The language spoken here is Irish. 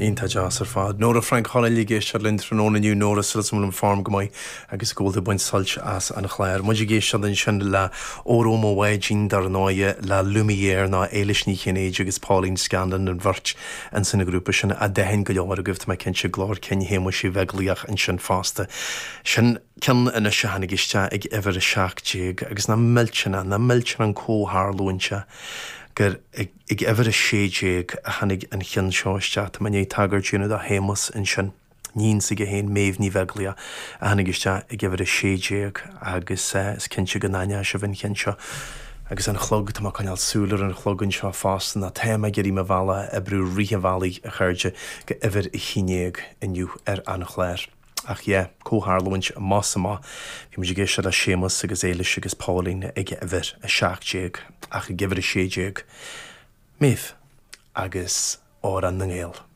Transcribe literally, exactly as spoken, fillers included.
Iontach deas ar fad. Nóra Frainc Chonaill ag éisteacht linn tráthnóna inniu Nóra súil agam go bhfuil form go maith agus go bhfuil tú ag baint sult as an chlár. Muid ag éisteacht ansin le Óró Mo Bháidín dar ndóigh le Lumière ná Éilis Ní Chinnéide agus Pauline Scanlon an bheirt ansin sa ghrúpa sin a d'aithin go leor agaibh tá mé cinnte glór cinn Shéamuis Uí Bheaglaoich ansin fosta. Sin ceann anois a tháinig isteach ag uimhir a seacht déag agus nach millteanach nach millteanach an comhtharlúint gur ag ag uimhir a sé déag a tháinig an ceann seo isteach tá mé ag tagairt do Shéamus ansin. Níon s'aige féin Méabh Ní Bheaglaoich a tháinig isteach ag uimhir a sé déag agus uh, is cinnte go n-aithneoidh sibh an ceann seo. Agus an clog tá coinneáil súil ar an chlog anseo fosta ná tá mé ag iarraidh mo bhealach a oibriú rith an bhealaigh a chairde go uimhir a haon déag inniu ar an chlár. Ach yeah, comhtharlúint más amach, bhí muid ag éisteacht le Séamus agus Éilis agus Pauline ag uimhir a seacht déag ach ag uimhir a sé déag. Méabh agus Amhrán na nGael.